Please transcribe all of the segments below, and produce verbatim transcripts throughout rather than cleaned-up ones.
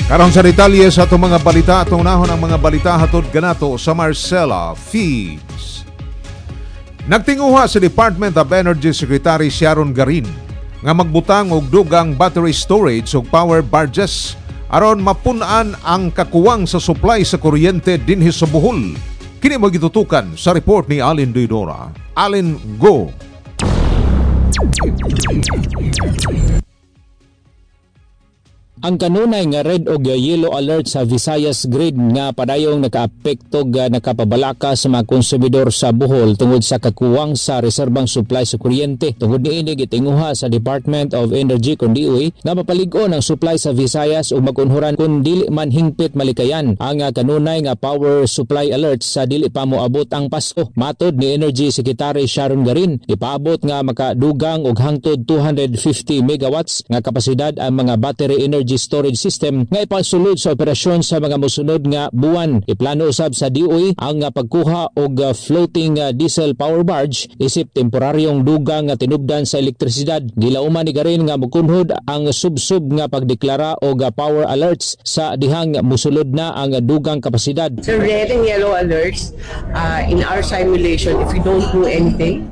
Karon sa detalye sa atong mga balita, atong unahon ang mga balita hatod kanato sa Marcela Feeds. Nagtinguha sa Department of Energy Secretary Sharon Garin nga magbutang og dugang battery storage ug power barges aron mapun-an ang kakuwang sa supply sa kuryente dinhi sa Bohol. Kini magitutukan sa report ni Alin Didora. Alin, go! Ang kanunay nga red og yellow alert sa Visayas Grid nga padayong nakaapekto ga nakapabalaka sa mga konsumidor sa Bohol tungod sa kakuwang sa reserbang supply sa kuryente. Tungod niini, gitinguha sa Department of Energy kon D O E nga mapalig-on ang supply sa Visayas ug magunhuran kung dili man hingpit malikayan ang kanunay nga power supply alert sa dili pa moabot ang Pasko. Matod ni Energy Secretary Sharon Garin, ipaabot nga makadugang og hangtod two hundred fifty megawatts nga kapasidad ang mga battery energy storage system nga ipasulod sa operasyon sa mga mosunod nga buwan. Iplano usab sa D O E ang pagkuha og floating diesel power barge isip temporaryong dugang nga tinubdan sa elektrisidad. Gilauman ni Garin nga mukunhod ang sub-sub nga pagdeklara og power alerts sa dihang musulod na ang dugang kapasidad. So red and yellow alerts, uh, in our simulation, if we don't do anything,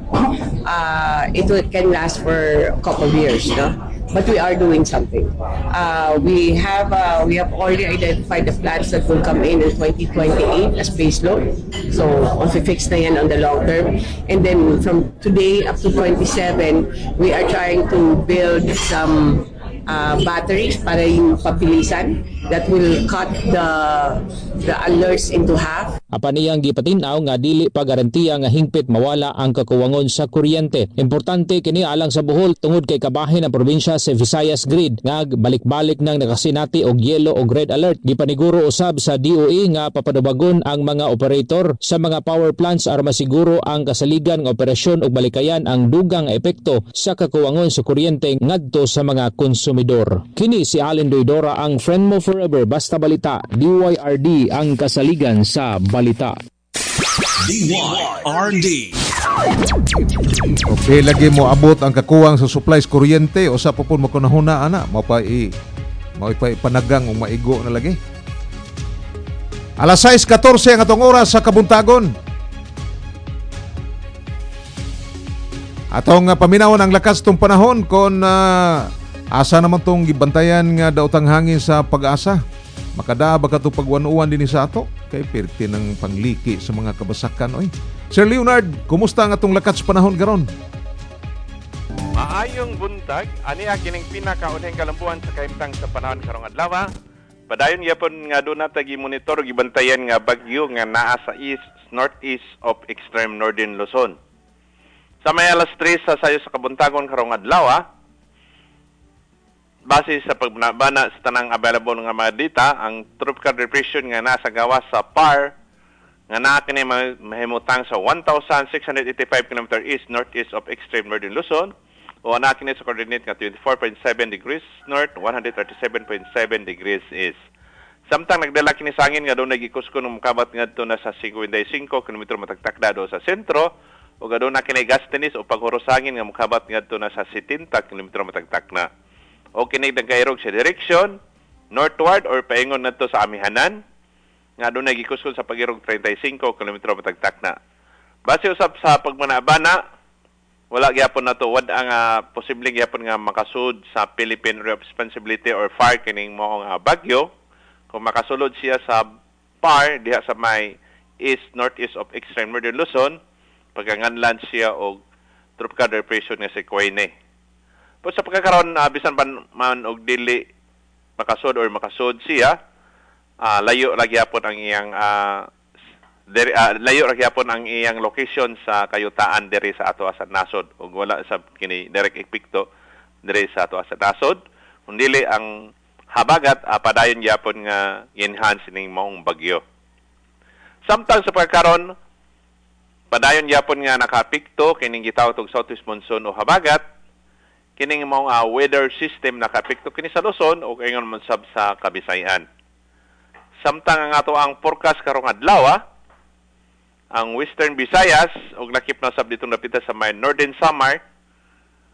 uh, it will, can last for a couple of years, no? But we are doing something. Uh, we have uh, we have already identified the plants that will come in in twenty twenty-eight as base load. So, fix na yan on the long term. And then from today up to twenty-seven, we are trying to build some uh, batteries para yung pabilisan that will cut the the alerts into half. Apan iyang gipatin-aw nga dili pa garantiya nga hingpit mawala ang kakuwangon sa kuryente. Importante kini alang sa Bohol tungod kay kabahin ang probinsya sa Visayas Grid nga balik-balik nang nakasinati og yellow og red alert. Gipaniguro usab sa D O E nga papadubagon ang mga operator sa mga power plants aron masiguro ang kasaligan nga operasyon ug malikayan ang dugang epekto sa kakuwangon sa kuryente ngadto sa mga konsumidor. Kini si Allen Doidora, ang friend mo forever, basta balita, D Y R D, ang kasaligan sa balita. D Y R D. Okay, lagi mo abot ang kakuwang sa supplies kuryente o sa pupun mo kunahuna ana, mao pa i mao pa ipanagang ug maigo na lagi. Alas sais katose ang atong oras sa kabuntagon. Atong uh, paminawon ang lakas tong panahon kon uh, asa naman tong gibantayan nga daotang hangin sa Pag-asa. Makada ba kato pagwanuan dinhi sa ato? Kay pirti ng pangliki sa mga kabasakan oy. Sir Leonard, kumusta ang atong lakas panahon karon? Maayong buntag, ani kining pinakaunhing kalambuan sa kahimtang sa panahon karong adlaw. Padayon gyapon nga doon na gi-monitor ug gibantayan nga bagyo nga naa sa east northeast of extreme northern Luzon. Sa may alas tres sa sayo sa kabuntagon karong adlaw, base sa pagbana sa tanang available nga mga data, ang tropical depression nga nasa gawas sa P A R nga naa kini mahimutang sa one thousand six hundred eighty-five kilometers east northeast of extreme northern Luzon o naa kini sa coordinate nga twenty-four point seven degrees north, one hundred thirty-seven point seven degrees east. Samtang nagdala kini sa hangin nga doon nagikusko ng mukabat ngadto na sa singkwenta y singko kilometro matag takda do sa sentro o aduna kini gustiness o paghuros hangin nga mukabat ngadto na sa setenta kilometro matag takna. O kini nagkairog sa direction northward or paingon ngadto sa amihanan nga adunay gikuskon sa pag-irog trenta y singko kilometro matag takna. Base usab sa pagmanabana, wala gyapon nato wad ang uh, posibleng gyapon nga makasud sa Philippine Area of Responsibility or F A R kining mao nga bagyo. Kung makasulod siya sa P A R diha sa may east northeast of extreme northern Luzon, pagkanganlan siya og tropical depression nga si Kwene. Po sa pagkakaroon, uh, bisan pa man og dili makasud or makasud siya, uh, layo ra gyapon ang iyang uh, diri, uh, layo ra gyapon ang iyang location sa kayutaan diri sa ato sa nasod ug wala sa kini direct epekto diri sa ato sa nasod. Kung dili ang habagat, uh, padayon gyapon nga enhance ning maong bagyo. Samtang sa pagkaron, padayon gyapon nga nakapikto kining gitawag og southwest monsoon o habagat. Kining maong uh, weather system nakapikto kini sa Luzon ug ingon man sab sa Kabisayan. Samtang ang ato ang forecast karong adlaw, ang Western Visayas ug lakip na sab ditong dapita sa may Northern Samar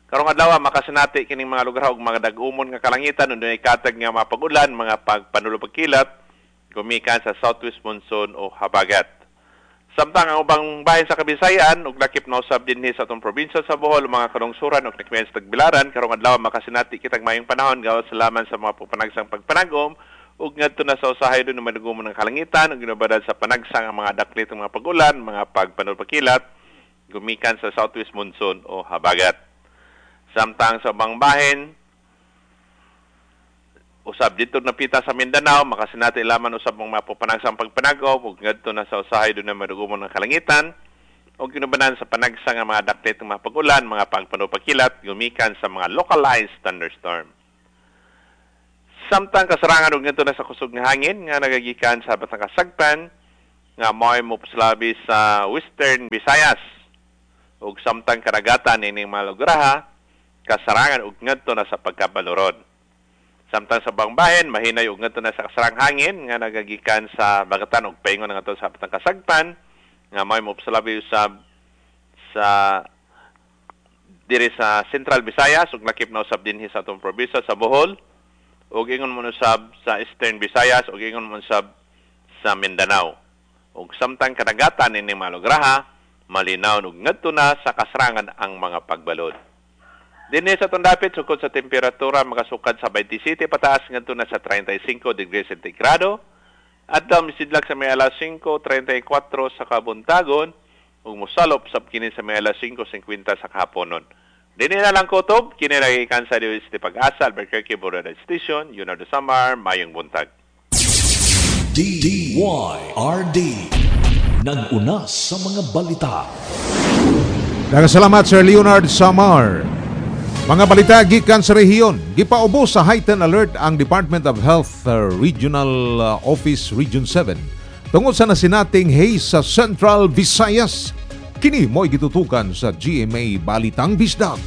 Karong adlaw makasinati kining mga lugar og mga dag-umon nga kalangitan ug katag nga mapag-ulan, mga pagpanulupagkilat gumikan sa southwest monsoon o habagat. Samtang ang ubang bahin sa Kabisayan ug lakip na usab dinhi sa atong probinsya sa Bohol, mga kalungsuran ug nakmian sa Tagbilaran, karong adlaw makasinati kitag mayong panahon gawas laman sa mga pagpanagsang pagpanagom ug ngadto na sa usahay dunay madugumon ng kalangitan ug ginubadan sa panagsang ang mga daklit ng mga pag-ulan, mga pagpanulpakilat gumikan sa southwest monsoon o habagat. Samtang sa ubang bahin, usab dito napita sa Mindanao, makasinati laman usab ang mga panagsang pagpanagom ug ngadto na sa usahay dunay madugumon ng kalangitan ug ginubanan sa panagsang ang mga daklit ng mga pag-ulan, mga pagpanupakilat gumikan sa mga localized thunderstorm. Samtang kasarangan ug ngadto na sa kusog nga hangin nga nagagikan sa Batang Kasagpan nga mao'y mopaslabi sa Western Visayas ug samtang karagatan ining mga lugarha kasarangan ug ngadto na sa pagkabaluron. Samtang sa ubang bahin mahinay ug ngadto na sa kasarang hangin nga nagagikan sa bagatan ug paingon ngadto sa Batang Kasagpan nga mao'y mopaslabi usab sa diri sa Central Visayas ug lakip na usab dinhi sa atong probinsya sa Bohol ug ingon mo usab sa Eastern Visayas ug ingon mo usab sa Mindanao. Ug samtang kadagatan ining mga lugarha malinaw ug ngadto na sa kasarangan ang mga pagbalod. Dinhi sa atong dapit sukod sa temperatura makasukad sa twenty-seven pataas ngadto na sa thirty-five degrees sentigrado. Adlaw misidlak sa may alas singko treinta y kuwatro sa kabuntagon ug mosalop sab kini sa may alas singko singkwenta sa kahaponon. Dinhi na lang kutob kini nagikan sa D O S T Pag-asa, Albuquerque Border Station, Leonardo Samar, mayong buntag. D Y R D. Nag-una sa mga balita. Daghang salamat, Sir Leonard Samar. Mga balita gikan sa rehiyon, gipaubos sa heightened alert ang Department of Health uh, Regional uh, Office Region seven tungod sa nasinating haze sa Central Visayas. Kini mo'y gitutukan sa G M A Balitang Bisdak.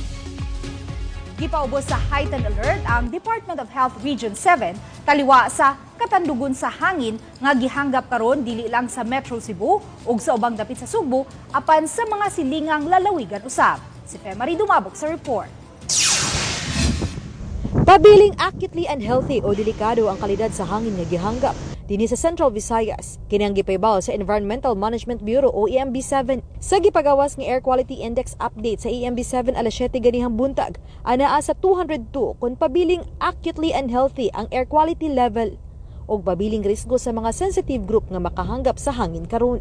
Gipaubos sa heightened alert ang Department of Health Region seven taliwa sa katandugon sa hangin nga gihanggap karon dili lang sa Metro Cebu ug sa ubang dapit sa Sugbo apan sa mga silingang lalawigan usab. Si Femary Dumabok sa report. Pabiling acutely unhealthy o delikado ang kalidad sa hangin nga gihanggap dinhi sa Central Visayas. Kini ang gipaybaw sa Environmental Management Bureau o E M B seven sa gipagawas nga Air Quality Index update sa E M B seven alas siyete ganihang buntag. Anaa sa two hundred two kung pabiling acutely unhealthy ang air quality level og pabiling risgo sa mga sensitive group nga makahanggap sa hangin karon.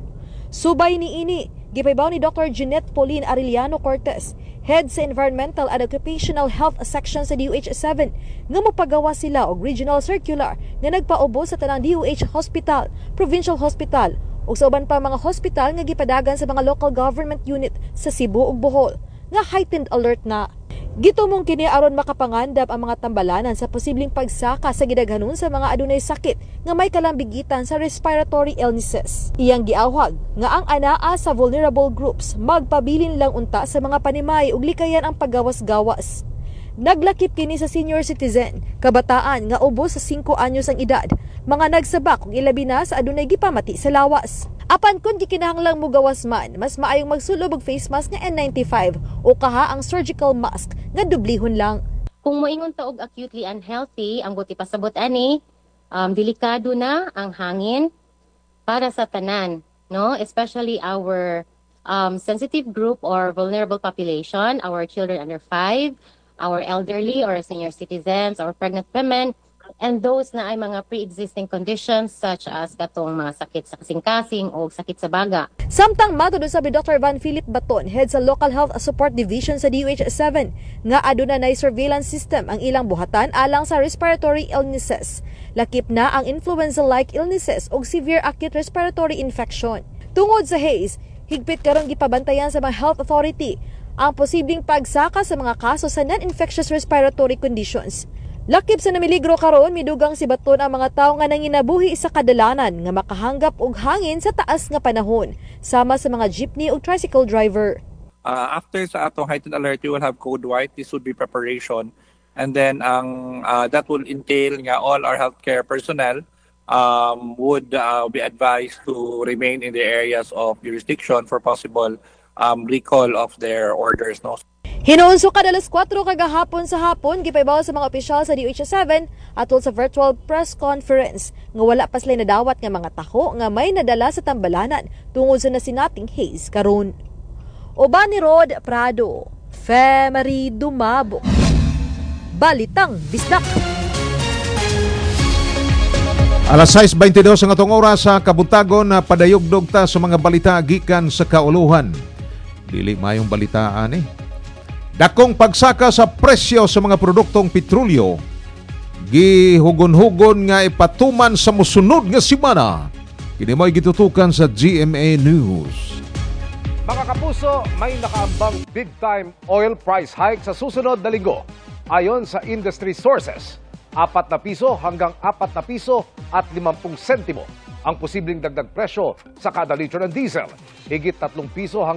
Subay niini, gipaybaw ni Doctor Jeanette Pauline Arellano Cortez, head sa Environmental and Occupational Health Section sa D O H seven, nga mopagawa sila og regional circular nga nagpaubos sa tanang D O H hospital, provincial hospital ug sa uban pa mga hospital nga gipadagan sa mga local government unit sa Cebu ug Bohol nga heightened alert na. Gitumong kini aron makapangandam ang mga tambalanan sa posibleng pagsaka sa gidaghanon sa mga adunay sakit nga may kalambigitan sa respiratory illnesses. Iyang giawhag nga ang anaa sa vulnerable groups magpabilin lang unta sa mga panimay ug likayan ang paggawas-gawas. Naglakip kini sa senior citizen, kabataan nga ubos sa singko anyos ang edad, mga nagsabak ug ilabi na sa adunay gipamati sa lawas. Apan kung gikinahanglang mugawas man, mas maayong magsulob og face mask nga N ninety-five o kaha ang surgical mask nga dublihon lang. Kung moingon ta og acutely unhealthy, ang buot ipasabot ani, um, delikado na ang hangin para sa tanan, no? Especially our um, sensitive group or vulnerable population, our children under five, our elderly or senior citizens, our pregnant women, and those na ay mga pre-existing conditions such as katong mga sakit sa kasing-kasing o sakit sa baga. Samtang matod usab ni Doctor Van Philip Baton, head sa Local Health Support Division sa D O H seven, nga aduna nay surveillance system ang ilang buhatan alang sa respiratory illnesses. Lakip na ang influenza-like illnesses ug severe acute respiratory infection. Tungod sa haze, higpit karon gipabantayan sa mga health authority ang posibleng pagsaka sa mga kaso sa non-infectious respiratory conditions. Lakip sa namiligro karon, midugang si Baton ang mga tawo nga nanginabuhi sa kadalanan nga makahanggap og hangin sa taas nga panahon, sama sa mga jeepney ug tricycle driver. Uh, after sa atong heightened alert, you will have code white. This would be preparation. And then ang uh, that will entail nga all our healthcare personnel um, would uh, be advised to remain in the areas of jurisdiction for possible um, recall of their orders. No? Hinuon sukad alas kwatro kagahapon sa hapon, gipaybaw sa mga opisyal sa D O H seven atol sa virtual press conference nga wala pa sila nadawat nga mga taho nga may nadala sa tambalanan tungod sa nasinating haze karon. Uban ni Rod Prado, Femery Dumabo. Balitang Bisdak. Alas sais bentidós ang atong oras sa kabuntagon na padayugdog ta sa mga balita gikan sa kauluhan. Dili mayong balitaan eh. Dakong pagsaka sa presyo sa mga produktong petrolyo gihugon-hugon nga ipatuman sa musunod nga semana. Kini mo'y gitutukan sa G M A News. Mga kapuso, may nakaambang big time oil price hike sa susunod na linggo. Ayon sa industry sources, apat na piso hanggang apat na piso at limampung sentimo ang posibleng dagdag presyo sa kada litro ng diesel. Higit tatlong piso hanggang